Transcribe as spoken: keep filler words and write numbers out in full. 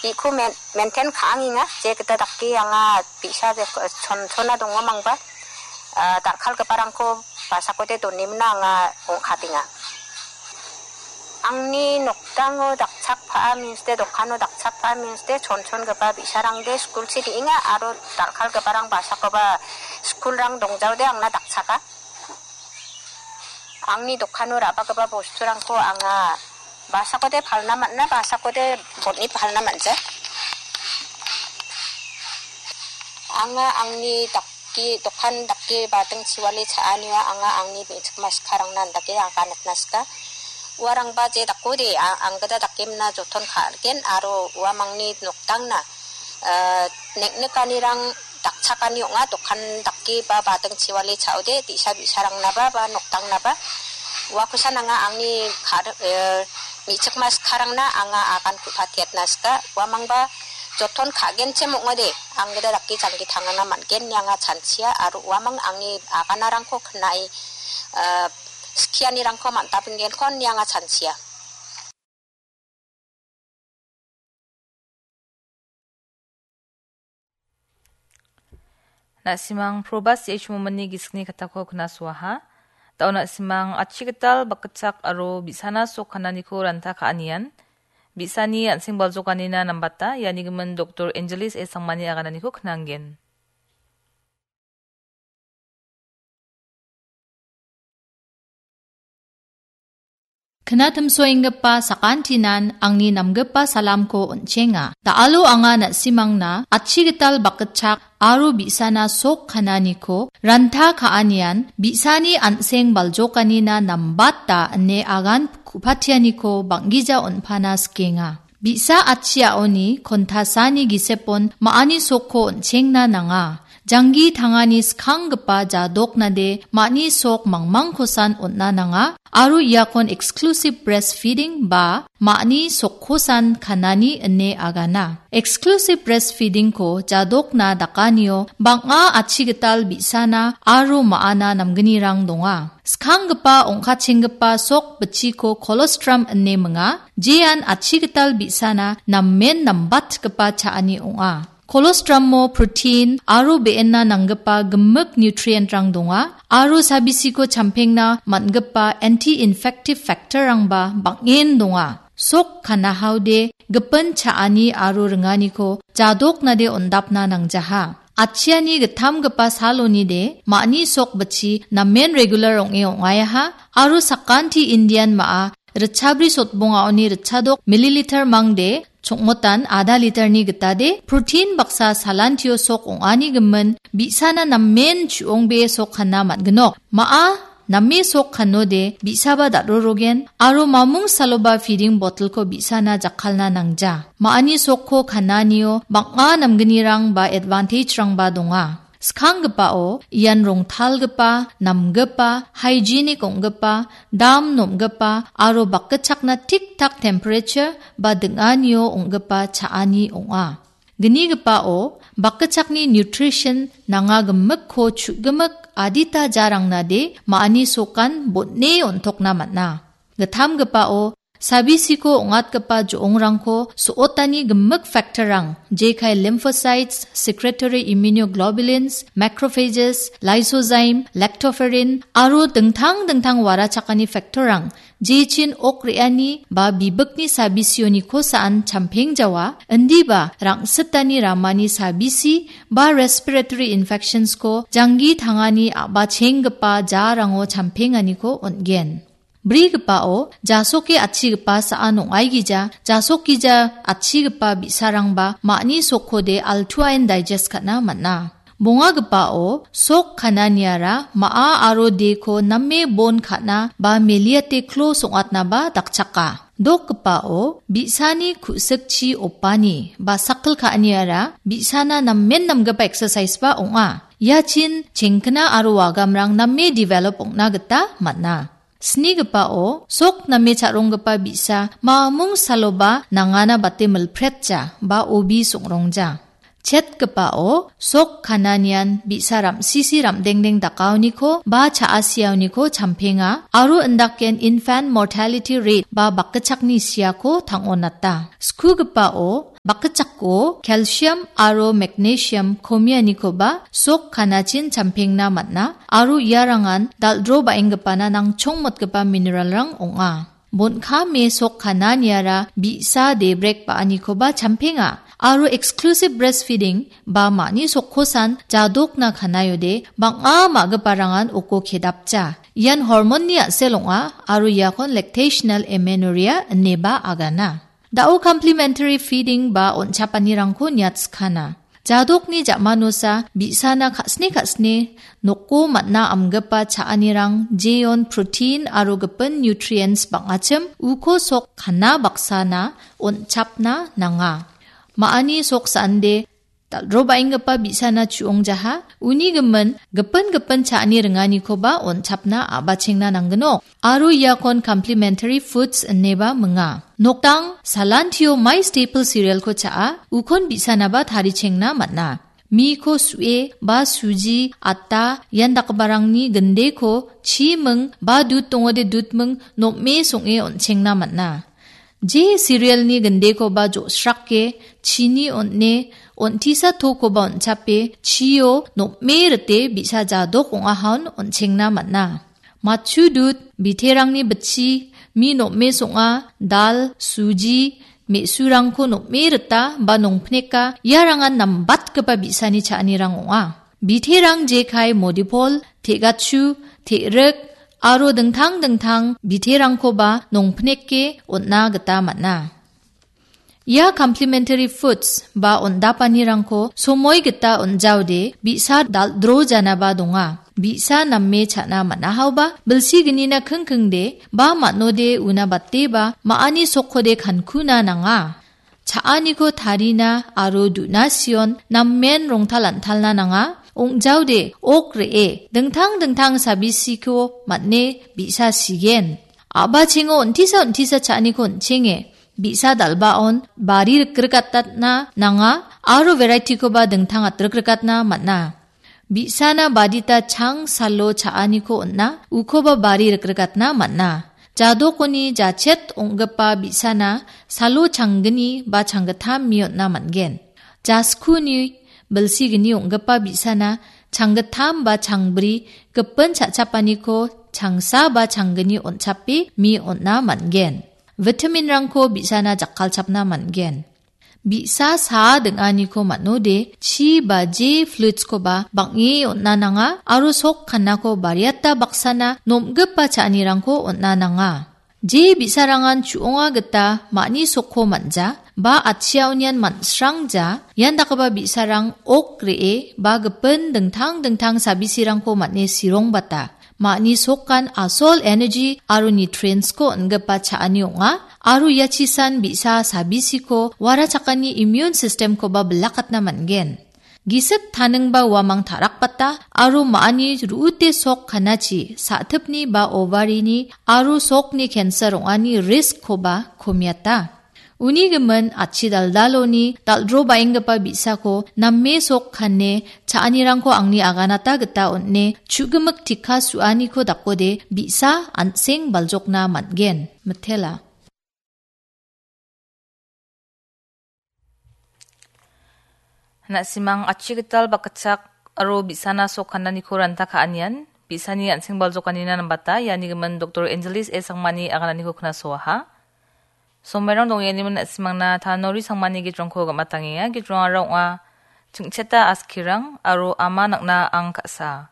Iko men-, maintain ka·angenga, je gita dake anga bi·sa je, chon-, chona dongomangba, ah, dal·kalgiparangko basakode donimina anga ong·katenga. Angni nokdango dakchakpaa means de, dokano dakchakpaa means de, chonchongipa bi·sarangde skulchi re·enga aro dal·kalgiparang basakoba skulrang dongjaode angna dakchaka. Angni dokano ra·bagipa bosturangko anga basakode palna man·a, basakode botni palna man·ja. Anga angni dake, dokan dake bading chiwale cha·anio anga angni me·chikma sikarangna andake aganatna sika. Uarangba je dakode a-, anggita dakemna joton ka·gen aro uamangni nokdangna, eh, neng·nikanirang dakchakani ong·a, dokan dake ba bading chiwale cha·ode, bi·sa bi·sarangnaba ba nokdangnaba. Uakosan anga angni kar-, eh, me·chikma sikarangna anga agan ku·patiatna sika. Uamangba joton ka·genchim ong·ode, anggita dake janggi tangana man·gen ine anga chanchia, aro uamang angni aganarangko knae, eh, skianirangko man·tabinggenko ine anga chanchia. Na·simang Probas H. Momani gisikni katako knasuaha. Da·o na·simang achigital bakgitchak aro bi·sana sok kananiko ranta ka·anian, bi·sani an·seng baljokanina nambata, iani gimin Doktor Angelis A. Sangmani agananiko knanggen. Knatimsoenggipa sakantinan angni namgipa salamko on·chenga. Da·alo anga na·simangna achigital bakgitchak aro bi·sana sok kananiko ranta ka·anian bi·sani an·seng baljokanina nambata ine agan ku·patianiko bang·gija on·pana sikenga. Bi·sa achiaoni kontasani gisepon ma·ani sokko on·chengna nanga. Janggi tangani skanggipa jadoknade ma·ani sok mangmangkosan on·na nanga, aro iakon exclusive breastfeeding ba ma·ani sokkosan kanani ine agana. Exclusive breastfeedingko jadokna dakanio bang·a achigital bi·sana aro ma·ana namgnirang donga. Skanggipa ong·kachenggipa sok bitchiko colostrum ine minga, jean achigital bi·sana namen nambatgipa cha·ani ong·a. Colostrummo protein aro be·enna nanggipa gimik nutrient-rang donga, aro sabisiko champengna man·gipa anti-infective factor-rangba bang·en donga. Sok kanahaode gipin cha·ani aro ringaniko jadoknade on·dapna nangjaha. Achiani gittamgipa salonide ma·ani sok bitchi namen regular ong·e ong·aiaha aro sakanti Indian ma·a ritchabri sotbongaoni ritchadok milliliter mangde chongmotan ada literni gitade protein baksa salantio sok ong·ani gimin bi·sana namen chu·ongbee sok kana man·ginok. Ma·a name sok kanode bi·saba dal·rorogen aro mamung saloba feeding bottle-ko bi·sana jakkalna nangja. Ma·ani sokko kananio bang·a namgnirang ba advantage-rangba donga. Skanggipao ian rongtalgipa, namgipa, hygienic ong·gipa, dam nom·gipa aro bakgitchakna tik-tak temperature ba ding·anio ong·gipa cha·ani ong·a. Gnigipao bakgitchakni nutrition nanga gimikko chu·gimik adita jarangnade ma·ani sokan bon·e on·tokna man·a. Gittamgipao sabisiko ong·atgipa jo·ongrangko so·otani gimik factor-rang, jekai lymphocytes, secretory immunoglobulins, macrophages, lysozyme, lactoferrin aro dingtang dingtang warachakani factor-rang, jechin ok re·ani ba bibikni sabisioniko sa·an champengjawa, indiba rang·sitani ramani sabisi ba respiratory infections-ko janggi tangani a·bachenggipa jarango champenganiko on·gen. Brigipao jasoke atchigipa sa·an ong·aigija, jasokgija atchigipa bi·sarangba ma·ani sokkode altuain digest ka·na man·a. Bongagipao sok kananiara ma·a aro deko name bon ka·na ba meliate klo song·atnaba dakchaka. Dokgipao bi·sani ku·sikchi opani ba sakil ka·aniara bi·sana namen namgipa exercise-ba ong·a. Iachin chengkna aro wagamrang name develop ong·na gita man·a. Snigipao sok name cha·ronggipa bi·sa mamung saloba nangana bate milpretja ba obi song·rongja. Chetgipao sok kananian bi·sa ram·sisi ram·dengdeng dakaoniko ba cha·asiaoniko champenga aro indaken infant mortality rate ba bakgitchakni siako tang·onata. Skugipao Bakitchako calcium aro magnesium komianikoba sok kanachin champengna man·a aro iarangan dal·dro ba·enggipana nangchongmotgipa mineralrang ong·a. Bon·kame sok kananiara bi·sa debrek ba·anikoba champenga aro exclusive breastfeeding ba ma·ni sokkosan jadokna kanaiode bang·a ma·giparangan oko kedapja. Ian hormon-ni a·sel ong·a aro iakon lactational amenorrhea ineba agana. Da·o complementary feeding ba on·chapanirangko niatskana. Jadokni ja·manosa bi·sana ka·sne ka·sne noko man·a amgipa cha·anirang jeon protein aro gipin nutrients bang·achim uko sok kana baksana on·chapna nanga. Ma·ani sok sande dal·dro ba·enggipa bi·sana chu·ongjaha, uni gimin gipin gipin cha·ani ringanikoba on·chapna a·bachengna nanggnok. Aro iakon complementary foods ineba minga. Nokdang salantio mai staple cerealko cha·a, ukon bi·sanaba tarichengna man·a. Miko su·e ba suji, ata, ian dakgiparangni gindeko chi ming ba dud dongode dud ming nom·e song·e on·chengna man·a. Je cerealni gindekoba jo·srake, chini on·e, on·tisa tokoba on·chape, chio nom·e rite bi·sa jadok ong·ahaon on·chengna man·a. Matchu dud, biterangni bitchi, mi nom·e song·a, dal, suji, me·surangko nom·e rita ba nongpneka, iarangan nambatgipa bi·sani cha·anirang ong·a. Biterang jekai modipol, te·gachu, te·rik, aro dingtang dingtang biterangkoba nongpneke on·na gita man·a. Ia complementary foods ba on·dapanirangko somoi gita on·jaode bi·sa dal·dro janaba donga. Bi·sa name cha·na man·ahaoba bilsi gnina kingkingde ba man·ode una bateba ma·ani sokkode kankuna nanga. Cha·aniko tarina aro du·na sion namen rongtal an·talna nanga. Ong·jaode ok re·e dingtang dingtang sabisiko man·e bi·sa sigen. A·bachengo on·tisa on·tisa cha·aniko on·chenge. Bi·sa dal·baon bari rikrigatatna nanga aro variety-koba dingtang atrikrikatna man·a. Bi·sana badita chang salo cha·aniko on·a, ukoba bari rikrigatna man·a. Jadokoni jachet ong·gipa bi·sana salo changgni ba changgittam mi on·na man·gen. Jaskuni bilsigni ong·gipa bi·sana changgittam ba changbri gipin cha·chapaniko changsa ba changgni on·chape mi on·na man·gen. Vitaminrangko bi·sana jakkalchapna man·gen. Bi·sa saa ding·aniko man·ode, chi ba je fluidskoba bang·e on·na nanga aro sok kannako bariata baksana nom·gipa cha·anirangko on·na nanga. Je bi·sarangan chu·onga gita ma·ni sokko man·ja ba atchiaonian man·srangja, ian dakgipa bi·sarang ok re·e ba gipin dingtang dingtang sabisirangko man·e sirongbata. Ma·ni sokan asol energy aro nutrientsko on·gipa cha·ani ong·a, aro ia chisan bi·sa sabisiko warachakani immune systemkoba bilakatna man·gen. Gisik taningba uamang ta·rakbata aro ma·ani ru·ute sok kanachi sa·tipni ba ovarini aro sokni cancer ong·ani riskkoba komiata. Uni gimin atchi daldaloni dal·dro baenggipa bi·sako name sok kane cha·anirangko angni aganata gita on·e chu·gimik tikka su·aniko dakode bi·sa an·seng baljokna man·gen, mitela. Na·simang atchi gital bakgitchak aro bi·sana sok kananiko ranta ka·anian, bi·sani an·seng baljokanina nambata, iani gimin Doktor Angelis A Sangmani agananiko knasoaha. Somairang dongengimin na·simangna Tanori Sangmani gitrongko gam·atangenga. Gitrongara ong·a Chingcheta Askirang aro Ama Nang·na Ang Ka·sa.